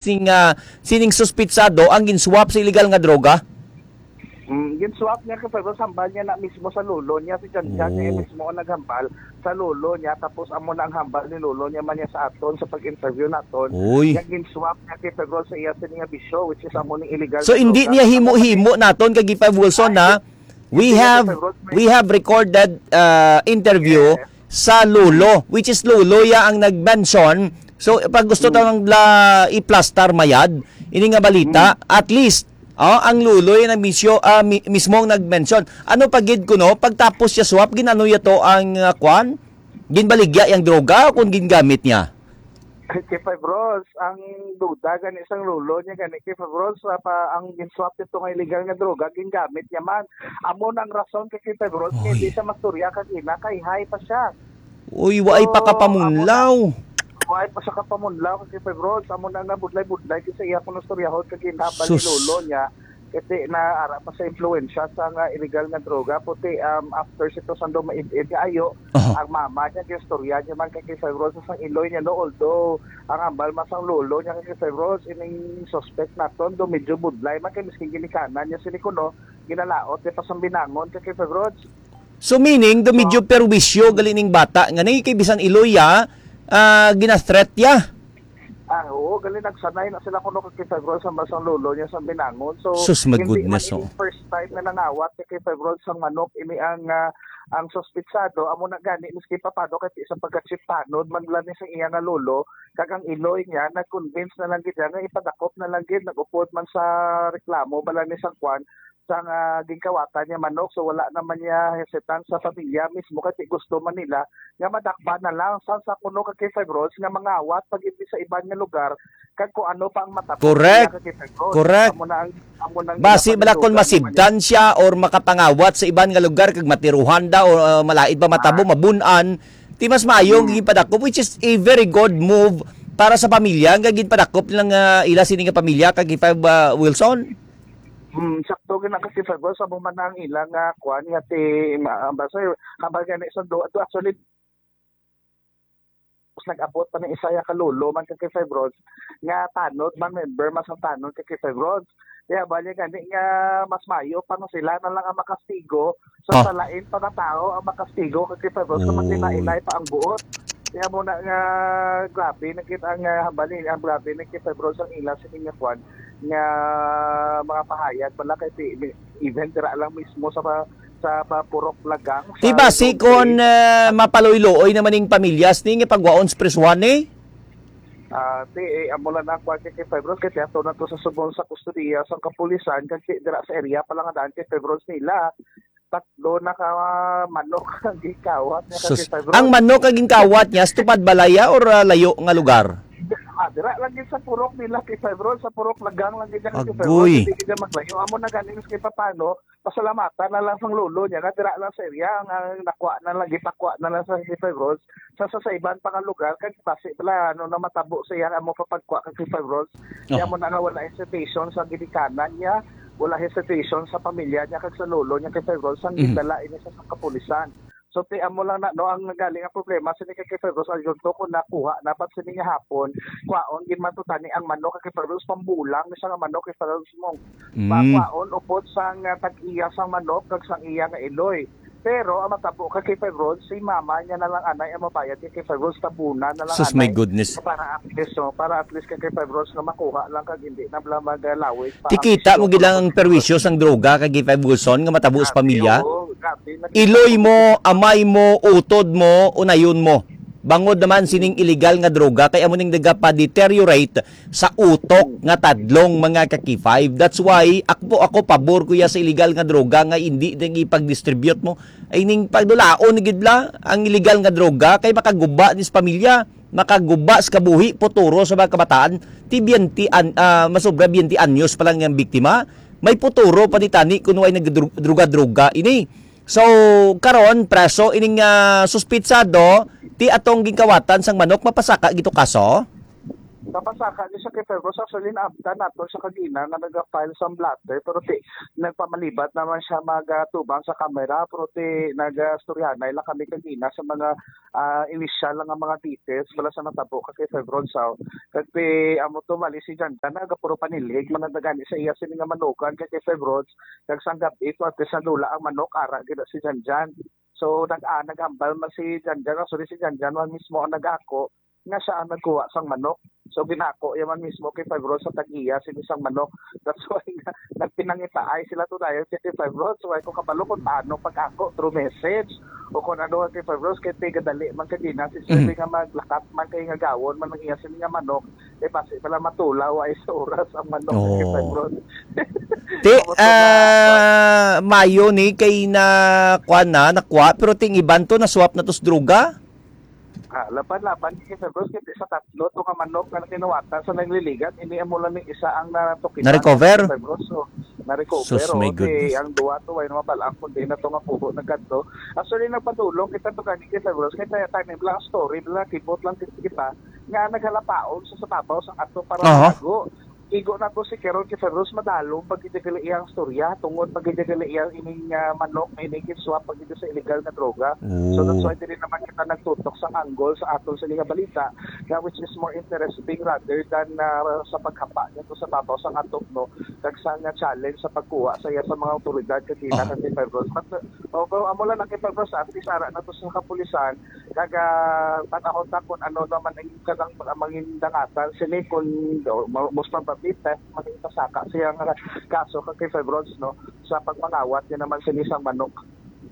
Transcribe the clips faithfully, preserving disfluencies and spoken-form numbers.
sing, ah, sining suspitsado ang ginswap sa illegal nga droga? Mm, ginswap niya, Kay Febros, hambal niya na mismo sa lolo niya, si Jan Jan niya Oh. mismo ang naghambal sa lolo niya, tapos amo na ang hambal ni lolo niya man niya sa aton sa pag-interview naton. Uy. Nga ginswap niya, Kay Febros, sa iya sini nga bisyo, which is amo ning illegal So, nga hindi droga. niya Amo himo-himo naton kay Gipag Wilson, Ay, na we hindi niya, have, Kay Febros, may we have recorded, uh, interview Yes. sa lolo, which is lolo ya ang nag-mention. So, pag gusto Mm. tawang la iplastar mayad, ini nga balita, Mm. at least, oh, ang lolo ya nag-misyo, ah, mi-, mismo ang nag-mention. Ano pa gid kuno, pagtapos siya swap, ginano ya to ang, ah, kwan? Ginbaligya yang droga o kung gingamit niya? Kay Febros, ang duda gani sang lolo niya gani, Kay Febros, sa pa, ang ginswap nito nga illegal nga droga, gingamit niya man. Amo na ang rason kay, Kay Febros, nga Oy. hindi siya mastorya kag ina, kay high pa siya. Uy, waay So, pa kapamunlaw. amo na, waay pa siya kapamunlaw kay, Kay Febros. Amo na nga budlay-budlay kay sa iya kuno storyahon kag ginhambal ni Sus. lolo niya. Kasi na ara pa sa impluwensya sa nga illegal nga droga. Puti, um, after sito sang dumaid-id nga ayo, Aha. ang mama niya, ginstorya niya man kay, Kay Febros, sa sang iloy niya, no? Although, ang hambal man sang lolo niya kay, Kay Febros, ining suspect naton, do medyo budlay man kay miskin ginikanan niya sini kuno, ginalaot niya pa sang binangon kay, Kay Febros. So, meaning, do medyo Oh. perwisyo gali ning bata nga ni kay bisan iloy ya, ah, gina-threat ya. Ah, oo, gali nagsanay na sila kuno kay, Kay Febros, sa masang lolo niya sa binangon. So, Sus, my hindi man goodness, ini oh. first time na nangawat kay, Kay Febros, sang manok ini ang, ah, ang suspitsado. Amo na gani, miski papano, kahit isang pagka-chief tanod man lang ni sa iya nga lolo, kag ang iloy niya, nag-convince na lang gid niya nga ipadakop na lang gid, nag-upod man sa reklamo, bala ni sang kwan, sang, ah, ginkawatan niya manok. So, wala naman niya hesitant sa pamilya mismo, kasi gusto man nila nga madakpan na lang. Sa, sa kuno kag kay Febros nga mangawat pag sa iban nga lugar, kag kung ano pa ang matabo Correct. niya kag kay Febros. Correct. Amo na ang, amo na ang Basi bala kung ginapanlugan naman niya. masibdan siya or makapangawat sa iban nga lugar kag matiruhan daw o, ah, malain pa matabo, Ah. mabun-an, ti mas maayo ang Hmm. gipadakop, which is a very good move para sa pamilya nga ginpadakop lang, ah, ila sini nga pamilya kag kay Feb, ah, Wilson. Hmm, sakto gid na kasi, Febros, sa mo man ang ilang, ah, kuan nga ti, ma-, basta, hambal gani sa do, do actually, nag-abot pa ni isa ya ka lolo man kag kay Febros nga tanod man, member man sa tanod kag kay Febros. Kaya bali gani nga mas mayo pa nga sila na lang ang makastigo sa Ah. sa lain pa nga tao ang makastigo kag kay Febros kung Uy. maghinay-hinay pa ang buot. Kaya mo na nga grabe na gid ang, ah, hambal ni, ang grabe na kay Febros ang ila sa inya kwan nga mga pahayag pala kay ti-, even dira lang mismo sa pa-, sa pa-, Purok Lagang, Ti sa basi Lubay. kon, ah, mapaloy-looy naman ning pamilyas ni nga pagwaon sa prisuhan ni? Ah, ti, eh, amo lang ang kwan kay Febros, kay tiyato na to sa subong sa kustodiya sa kapulisan, kag ti, dira sa area pa lang ang daan kay Febros nila. Tatlo na ka manok ang gikawat niya kag Sus, kay Febros. ang manok ang ginkawat niya, sa tupad balaya or, ah, layo nga lugar? Ah, dira lang gid sa purok nila kay Febros, sa Purok Lagang lang gid niya kay Febros, Agoy. hindi gid niya maglayo. Amo na gani, miski papano, pasalamatan na lang sang lolo niya nga dira lang sa area nga nakuha na lang, gipakuha na lang sa Fifty Five Roads. Sa, sa, sa iban pa nga lugar, kag basi bala, ano, na matabo sa iya amo pa pagkuha kag Fifty Five Roads. Kaya Oh. mo na nga wala hesitation sa ginikanan niya, wala hesitation sa pamilya niya kag sa lolo niya kay Fifty Five Roads, ang Mhm. gindala ini sa, sa kapulisan. So, ti amo lang na, no, ang nagaling ang problema sini kay Fifty Five Roads, ayon to kung nakuha na, but sini nga hapon, kwaon, ginmatutani ang manok kay Fifty Five Roads, pambulang ni siya nga manok kay Fifty Five Roads mo. Mm. Pakwaon, upod sang, ah, tag-iya sang manok kag sang iya nga iloy. Pero ang matabo kay Fifty Five Roads, si mama niya na lang anay ang mabayad kay Fifty Five Roads, tabunan na lang Sus, my anay. goodness. Para at least, no, para at least kay Fifty Five Roads nga makuha lang kag hindi na bala magalawig pa ang Tikita mo isyu gid lang ang kung perwisyo sang droga kay Fifty Five Wilson nga matabo sa Grabe, pamilya. oo, grabe. Nakita Iloy ko mo, amay mo, utod mo, unayon mo. Bangod naman sining illegal nga droga kay amo ning nagapa-deteriorate sa utok nga tadlong mga ka-K five. That's why ako, ako pabor ko ya sa illegal nga droga nga hindi nang ipag-distribute mo. Ay ning pagdulaon gid la ang illegal nga droga kay makaguba ni sa pamilya, makaguba sa kabuhi, futuro sa mga kabataan. Ti biyente an-, ah, masobra biyente anyos pa lang ang biktima. May futuro pa ni tani kung way nagdru-, droga-droga ini. So, karon, preso ining, ah, suspitsado, ti atong ginkawatan sang manok, mapasaka gito kaso? Napasaka ni siya kay Febros. Actually, naabtan nato siya kagina nga naga-file sa blotter, pero ti, nagpamalibat naman siya magatubang sa kamera, pero ti, nagastoryanay lang kami kagina sa mga, ah, initial lang nga mga details wala sa natabo ka kay Febros. So, kag ti, amo to, bali si Janjan, nagapuro panilhig, manandagani sa iya sini nga manukan kay, kay Febros, kag sang gabi, tuwad sa lula ang manok, ara gid si Janjan. So, nag, ah, naghambal man si Janjan, actually si Janjan man mismo ang nag-ako, nga siya ang nagkuha sang manok. So, ginako iya man mismo kay Fibro sa tag-iya sini sang manok. That's why nga, nagpinangitaay sila to dayon kay Fibro. So, ay ko kabalo kung paano pag-ako through message o kung ano kay Fibro kay tiga dali man kay dina si Sir Mhm. nga maglakat man kay nga gawon man ang iya sini nga manok. Eh, basi pala matulaw ay sa oras ang manok kay Oo. Fibro. Ti, Kamusta na? ah, mayo ni kay na, kuwan na, nakuha, pero ting iban to, na-swap na to sa droga? Ah, laban-laban kay Febros, kay sa tatlo to nga manok nga nakinuwatan sa nagliligat, ini amo lang ni isa ang natukitan Na-recover? Kay Febros. So, na-recover, Sus, oh, my kay goodness. Ang duwa to, way na mabalaan kung di na to nga pugo nagkadto. Actually, nagpadulong kita to gani kay Febros, kay tayo time lang story, lang kibot lang kita, nga naghalapaon sa sababaw sa ato para Aha. Matago. Igo na to si Carol kay Febros, madalom pag gid gali iyang storya, tungod pag gid gali iyang ining, ah, manok, ining swap pag gid sa illegal nga droga. So, that's Oh. Why dili naman kita nagtutok sa angle sa aton sini nga balita, nga which is more interesting rather than, ah, sa paghapa niya to sa babaw sa atok, no, kag sa nga challenge sa pagkuha sa iya sa mga awtoridad kag ina Ah. Kag kay Febros. But, uh, although amo lang na kay Febros, at least ara na to sa kapulisan, kag, ah, tan-awon ta kung ano naman ang kanang mga mangindangatan sini, kung, uh, mo-, most probably, theft, maging pasaka siya nga kaso kag kay Febros, no, sa pagmangawat niya naman sini sang manok.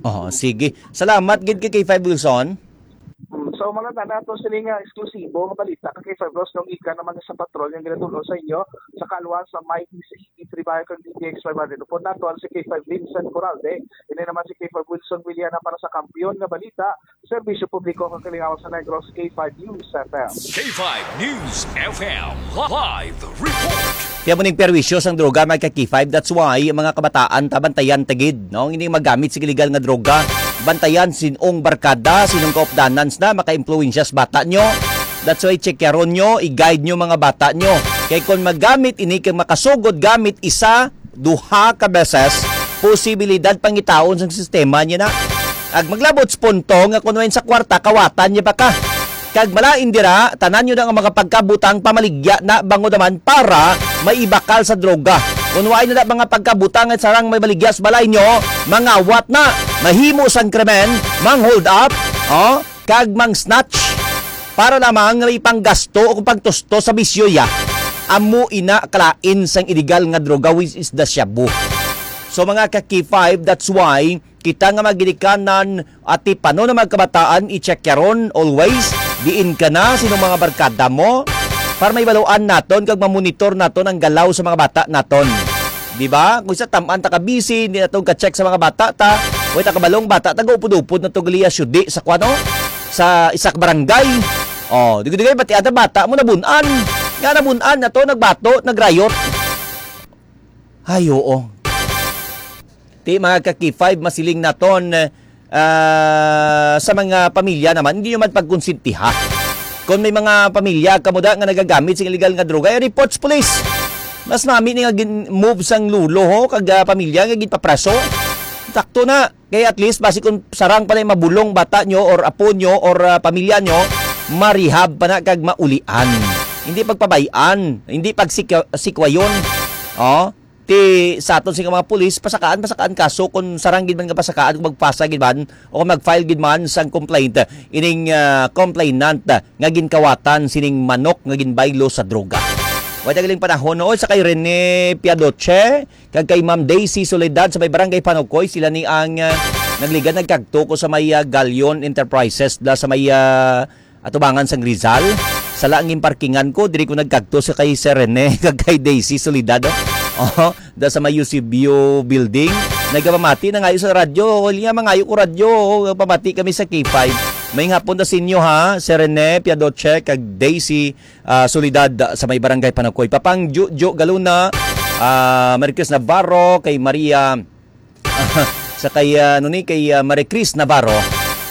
Oo, sige. Salamat gid kay K five Wilson. Mm, so, mga tana, ato sini nga eksklusibo nga balita kay Febros nung ika naman sa patrol nga ginatulon sa inyo sa kalwa sa may D C eighty-three Bayo kag D T X five hundred. Upod nato ang si K five Vincent Coralde, ini naman si K five Wilson Williana para sa Kampiyon nga Balita, Serbisyo Publiko kag Kalingawan sa Negros, K five News F M. K five News F M live report. Kaya mo ning perwisyo sang droga, mga ka-K five. That's why ang mga kabataan, tabantayan tagid, no? Hindi magamit sa illegal nga droga. Bantayan sinong barkada, sinong kaupdanan na maka-impluwensya sa bata nyo. That's why check yaron nyo, i-guide nyo mga bata nyo. Kay kung magamit ini kag makasugod gamit isa, duha ka beses, posibilidad pangitaon sang sistema niya na. Ag maglabot sa punto nga kung wain sa kwarta, kawatan niya pa ka. Kag malain dira, tanan nyo na nga mga pagkabutang pamaligya na bangod naman para maibakal sa droga. Kung wain na mga pagkabutang at sarang may baligya sa balay nyo, mangawat na, mahimo sang krimen, mang hold up, oh, kag mang snatch para lamang nga may panggasto o pagtusto sa bisyo ya. Amo ina kalain sang illegal nga droga, which is the shabu. So, mga ka-K five, that's why kita nga maginikanan at tipano na mga kabataan, i-check yaron always diin ka na, sino mga barkada mo, para may baluan naton kag mamonitor naton ang galaw sa mga bata naton. Di ba? Kung sa taman ta ka busy, hindi naton ka-check sa mga bata ta, way ta kabalong bata ta, gaupod-upod na to gali ya syudi sa kwano, sa isak barangay. Oh, di ko di kayo bati ata bata mo nabun-an. Nga nabun-an na to, nagbato, nagrayot. Ay, oo. Ti, mga ka-K five, masiling naton, ah, sa mga pamilya naman, hindi nyo man pagkonsintiha. Kung may mga pamilya kamo da nga nagagamit sa illegal nga droga, eh, reports police. Mas nami ni nga gin-, move sang lulo, ho, kag, ah, pamilya nga ginpapreso. Takto na. Kay at least, basi kung sarang pa na yung mabulong bata nyo or apo nyo or, ah, pamilya nyo, marihab pa na kag maulian. Hindi pagpabayan, hindi pagsikwa-, sikwayon. Oh, ti sa aton sing mga pulis, pasakaan, pasakaan kaso kung sarang gid man nga pasakaan, kung magpasa gid man, o kung mag-file gid man sang complaint, ining, ah, complainant, ah, nga ginkawatan sining manok nga ginbaylo sa droga. Wala galing panahon, no? Sa kay Rene Piadoche, kag kay Ma'am Daisy Soledad sa may barangay Panukoy, sila ni ang, ah, nagligad nagkagto ko sa may, ah, Galion Enterprises, da sa may, ah, atubangan sang Rizal. Sala ang parkingan ko, diri ko nagkagto sa kay Sir Rene, kag kay Daisy Soledad, oh. Oh, da sa may Eusebio Building. Nagapamati na ngayo sa radyo. Wala nga, mangayo ko radyo. Pamati kami sa K five. May hapon da sa inyo, ha? Sir Rene Piadoche, kag Daisy, ah, Soledad, ah, sa may barangay Panakoy. Papang Jojo Galuna, ah, Maricris Navarro, kay Maria, sa kay, ah, ano ni, kay, ah, Maricris Navarro,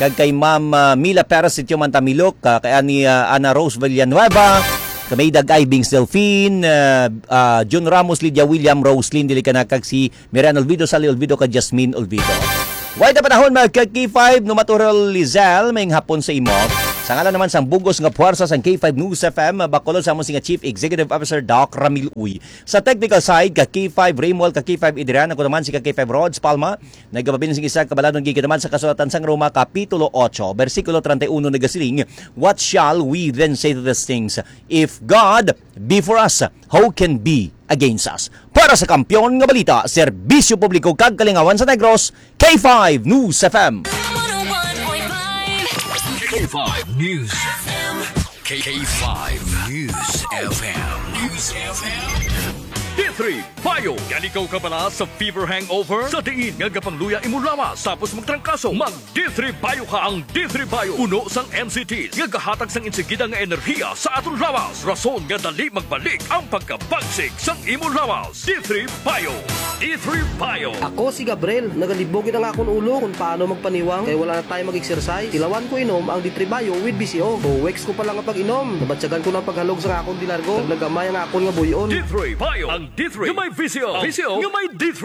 kag kay Ma'am, ah, Mila Perez, Sitio Mantamilok, ah, kay ani, ah, Ana Rose Villanueva, Kami Dag Ivings Delfin, ah, ah, Jun Ramos, Lydia William, Roslyn Dilicanacag, si Miriam Olvido, Sally Olvido, kag Jasmine Olvido. Way ta panahon, mga ka K five, no Matural Lizelle, may hapon sa imo. Sa ngalan naman sang bugos nga puwersa sang K five News F M, bakulod sa amon nga Chief Executive Officer, Doc Ramil Uy. Sa technical side, ka K five Raymond, ka K five Idrian, ako naman si ka K five Rods Palma. Nagapabilin sing isa ka baladon gikan naman sa kasulatan sang Roma, Kapitulo otso, bersikulo treinta y uno, nagasiling, "What shall we then say to these things? If God be for us, who can be against us?" Para sa Kampiyon nga Balita, Serbisyo Publiko kag Kalingawan sa Negros, K five News F M. K five News F M. K five News F M. News F M. D three Bio. Gani ikaw kabala sa fever hangover? Sa diin nga gapangluya imo lawas tapos magtrangkaso, mag D three Bio ka. Ang D three Bio puno sang M C T nga gahatag sang insigida nga enerhiya sa aton lawas, rason nga dali magbalik ang pagkabagsik sang imo lawas. D three Bio. D three Bio. Ako si Gabriel. Nagalibog gid ang akon ulo kung paano magpaniwang kay wala na tayo mag-exercise. Tilawan ko inom ang D three Bio with V C O. Two weeks ko pa lang ang pag-inom. Nabatyagan ko ng paghalog sa akon dilargo. Naglagamay ang akon nga buyon. D three Bio. Ang D three nga may V C O. V C O nga may D three.